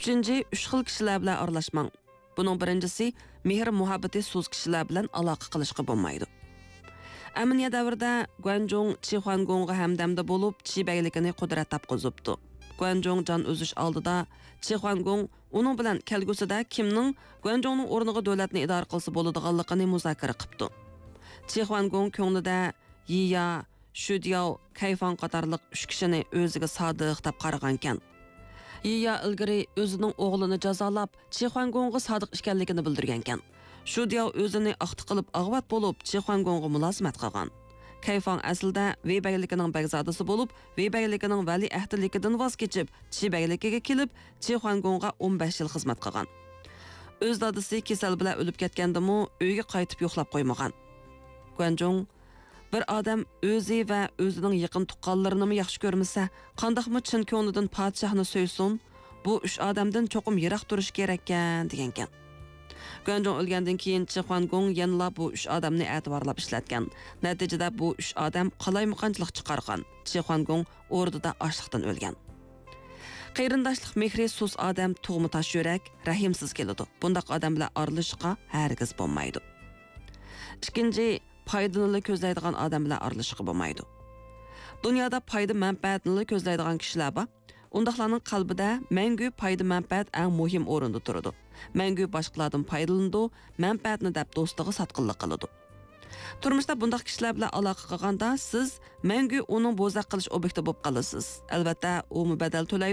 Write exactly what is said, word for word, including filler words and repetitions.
ئۈچىنچى، ئۈچ خىل كىشىلەر بىلەن ئارىلاشماڭ. بۇنىڭ بىرىنچىسى، مېھىر-مۇھەببىتى سۇس كىشىلەر بىلەن ئالاقە قىلىشقا بولمايدۇ. ئەمىنىيە دەۋرىدە گۇەنجۇڭ چىخۇەنگوڭغا ھەمدەمدە بولۇپ، چى بەگلىكىنى قۇدرەت تاپقۇزۇپتۇ. گۇەنجۇڭ جان ئۈزۈش ئالدىدا چىخۇەنگوڭ ئۇنىڭ بىلەن كەلگۈسىدە كىمنىڭ گۇەنجۇڭنىڭ ئورنىغا دۆلەتنى ئىدارە قىلسا بولىدىغانلىقىنى مۇزاكىرە قىپتۇ. چىخۇەنگوڭ كۆڭلىدە يىيا، شۈدياۋ، كەيفاڭ قاتارلىق ئۈچ كىشىنى ئۆزىگە سادىق دەپ قارىغانكەن. يىيا ئىلگىرى ئۆزىنىڭ ئوغلىنى جازالاپ، چىخۇەنگوڭغا سادىق ئىكەنلىكىنى بىلدۈرگەنكەن. شۇدياۋ ئۆزىنى ئاختا قىلىپ ئاغۋات بولۇپ، چىخۇەنگوڭغا مۇلازىمەت قىلغان. كەيفاڭ ئەسلىدە ۋېي بەگلىكىنىڭ بەگزادىسى بولۇپ، ۋېي بەگلىكىنىڭ ۋەلىئەھدىلىكىدىن ۋاز كېچىپ، چى بەگلىكىگە كېلىپ، چىخۇەنگوڭغا ئون بەش يىل خىزمەت قىلغان. ئۆز دادىسى كېسەل بىلەن ئۆلۈپ كەتكەندىمۇ، ئۆيگە قايتىپ يوقلاپ قويمىغان. گۇەنجۇڭ، بىر ئادەم ئۆزى ۋە ئۆزىنىڭ يېقىن تۇغقانلىرىنىمۇ ياخشى كۆرمىسە، قانداقمۇ چىن كۆڭلىدىن پادىشاھنى سۆيسۇن؟ بۇ ئۈچ ئادەمدىن چوقۇم يىراق تۇرۇش كېرەككەن، دېگەنكەن. گۇەنجۇڭ ئۆلگەندىن كېيىن، چىخۇەنگوڭ يەنىلا بۇ ئۈچ ئادەمنى ئەتىۋارلاپ ئىشلەتكەن. نەتىجىدە بۇ ئۈچ ئادەم قالايمىقانچىلىق چىقارغان. چىخۇەنگوڭ ئوردىدا ئاچلىقتىن ئۆلگەن. قېرىنداشلىق مېھرى سۇس ئادەم، تۇغما تاش يۈرەك، رەھىمسىز كېلىدۇ. بۇنداق ئادەم بىلەن ئارىلىشىشقا ھەرگىز بولمايدۇ. ئىككىنچى، پايدىنىلا كۆزلەيدىغان ئادەم بىلەن ئارىلىشىشقا بولمايدۇ. دۇنيادا پايدا مەنپەئەتنىلا كۆزلەيدىغان كىشىلەر بار. ئۇنداقلارنىڭ قەلبىدە مەڭگۈ پايدا مەنپەئەت ئەڭ مۇھىم ئورۇندا تۇرىدۇ. مەڭگۈ باشقىلاردىن پايدىلىنىدۇ، مەنپەئەتنى دەپ دوستىغا ساتقىنلىق قىلىدۇ. تۇرمۇشتا بۇنداق كىشىلەر بىلەن ئالاقە قىلغاندا، سىز مەڭگۈ ئۇنىڭ بوزەك قىلىش ئوبيېكتى بولۇپ قالىسىز. ئەلۋەتتە، ئۇمۇ بەدەل تۆلەيدۇ.